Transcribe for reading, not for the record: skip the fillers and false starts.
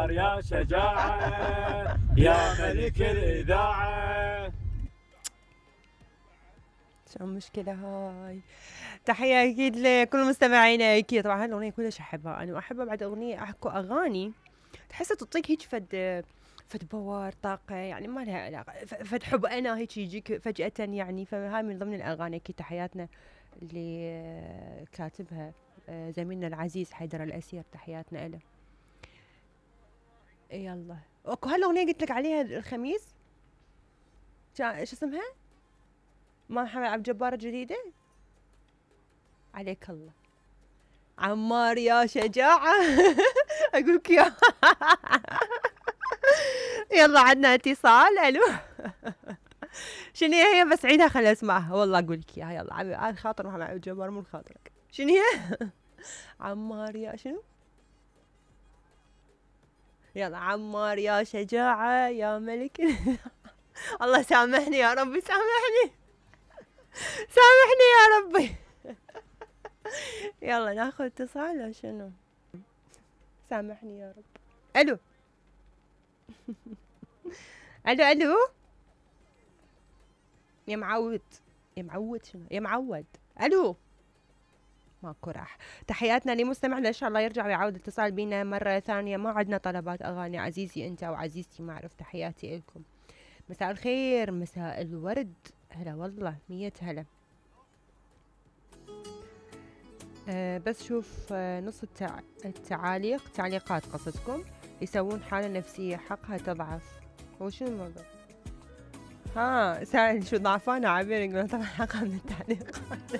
عمار يا شجاعة يا ملك الإذاعة. شو المشكلة هاي؟ تحية أكيد لكل مستمعينا أكيد. طبعا هالأغنية كلش أحبها أنا، وأحبها بعد أغنية أكو أغاني تحسها تعطيك هيك فد باور طاقة، يعني ما لها علاقة فد حب أنا هيك يجيك فجأة يعني. فهاي من ضمن الأغاني أكيد تحياتنا اللي كاتبها زميلنا العزيز حيدر الأسير، تحياتنا له. يلا اكو هالأغنية قلت لك عليها الخميس، شو اسمها؟ ما محمد عبد الجبار الجديدة. عليك الله عمار يا شجاعة. أقولك يا يلا عندنا اتصال. ألو. شنو هي؟ بس عيدها خليني اسمعها والله أقولك إياها. يلا على خاطر محمد عبد الجبار مو خاطرك. شنو هي؟ عمار يا شنو؟ يلا عمار يا شجاعة يا ملك. الله سامحني يا ربي، سامحني سامحني يا ربي. يلا ناخذ اتصال ولا شنو؟ سامحني يا رب. الو. الو الو يا معود. يا معود شنو؟ يا معود. الو ماكو راح. تحياتنا لمستمعنا، ان شاء الله يرجع ويعود الاتصال بينا مرة ثانية. ما عندنا طلبات اغاني عزيزي انت وعزيزتي، ما اعرف. تحياتي لكم، مساء الخير، مساء الورد، هلا والله 100 هلا. بس شوف نص التعليقات قصدكم يسوون حالة نفسية حقها تضعف. هو شنو الموضوع؟ ها سائل شو ضعفانة عبير يقولون طبعا حقها من التعليقات.